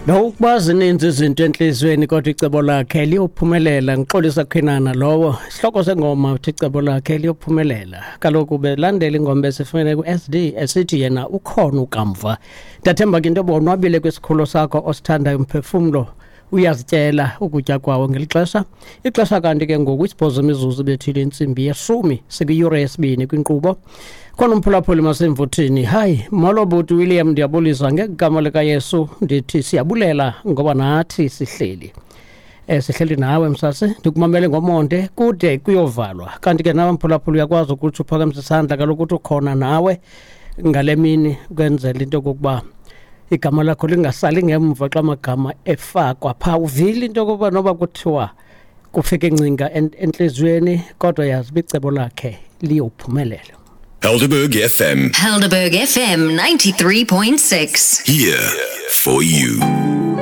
Nokuba zininzi izinto entliziyweni kodwa icebo lakhe liyophumelela. Ngixolisa Qhinana lowo. Isihloko sengoma uthi icebo lakhe liyophumelela. Kaloku belandela ingoma esifumene ku-SD esithi yena ukhona ukamva. Ndathemba ke into yoba wonwabile kwisikhulo sakho osithandayo umphefumlo uyazityela ukutya kwawo ngeli xesha. Ixesha kanti ke ngoku isibhozo imizuzu ibethile intsimbi yeshumi sikwiyure yesibini kwinkqubo. Khona umphulaphuli masemvuthini. Hayi, molo buti William, ndiyabulisa ngegama likaYesu. Ndithi siyabulela ngoba nathi sihleli. Sihleli nawe msase, ndikumamele ngomonde kude kuyovalwa. Kanti ke nawe mphulaphuli uyakwazi ukuthi uphakamise isandla kaloku uthi ukhona nawe ngale mini ukwenzela into yokokuba igama lakho lingasali ngemva xa amagama efakwa phaa. Uvile into yokokuba noba kuthiwa kufike ingcinga entliziyweni kodwa yazi uba icebo lakhe liyophumelela. Helderberg FM. Helderberg FM 93.6. Here for you.